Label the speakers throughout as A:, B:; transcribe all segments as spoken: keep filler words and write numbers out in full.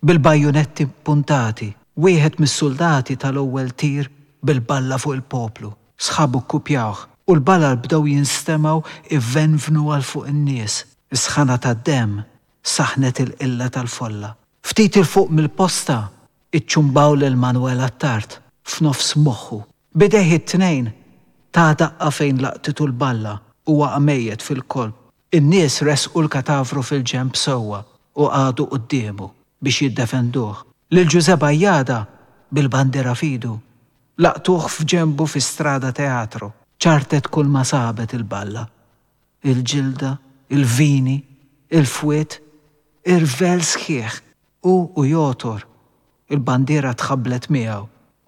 A: Bil-bajunetti puntati, wieħed mis-suldati tal-ewwel tir bil-balla fuq il-poplu. Sħabu kkupjawh u l-balal bdew jinstemgħu ivenvnu għal fuq in-nies. Is-sħana tad-demm saħnet il-qilla tal-folla. Ftit 'il fuq mill-posta iċċumbaw lil Manuel Attard f'nofs moħħu. B'idejh it-tnejn ta daqqa fejn laqtitu l-balla u waqa' mejjet fil-kolp. In-nies ressqu l-katavru fil-ġenb sewwa u qagħdu quddiemu biex jiddefenduh. Lil Ġużè Bajada bil-bandiera f'idu laqtuh f'ġenbu fi Strada Teatro. Ċartet kulma sabet il-balla. Il-ġilda, il-vini, il-fwied, irvell sħiħ. Hu u jogħtor, il-bandiera tħabblet miegħu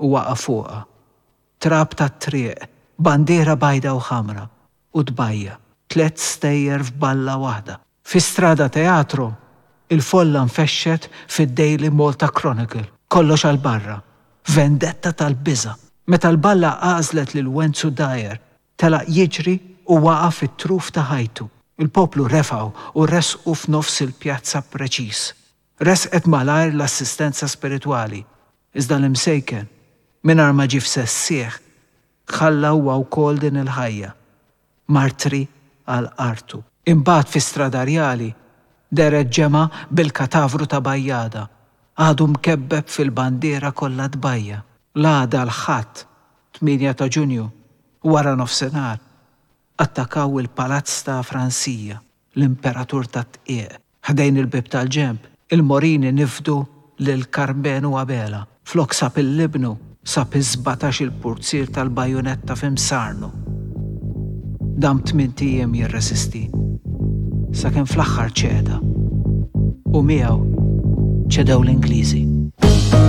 A: u waqa' fuqha. Trab tat-triq, bandiera bajda u ħamra u tbajja, tliet stejjer f'balla waħda. Fi Strada Teatro, il-folla nfexxet fid-Daily Malta Chronicle, kollox għal barra, vendetta tal-biża'. Meta l-balla għażlet lil Wenzu Dyer, telaq jiġri u waqa' fit-truf ta' ħajtu. Il-poplu refgħu u ressqu f'nofs il-pjazza preċiż. Resqet malajr l-assistenza spiritwali, iżda l-imsejken, mingħajr ma ġie f'sensih, ħalla huwa wkoll din il-ħajja, martri għal artu. Imbagħad fi Strada Rjali dehret ġemgħa bil-katavru ta' Bajjada, għadu mkebbeb fil-bandiera kollha tbajja. L-għada l-Ħadd, tmienja ta' Ġunju, wara nofsinhar, attakaw il-palazz ta' Fransija, l-imperatur tat-tqiegħ. Ħdejn il-bieb tal-ġenb, il-Morini nifdu lil Karmenu Abela. Flok sab il-libnu, sab is-sbatax-il purzier tal-bajunetta f'imsarnu. Dam tmint ijiem jirreżisti, sakemm fl-aħħar ċeda. U miegħu ċedew l-Ingliżi.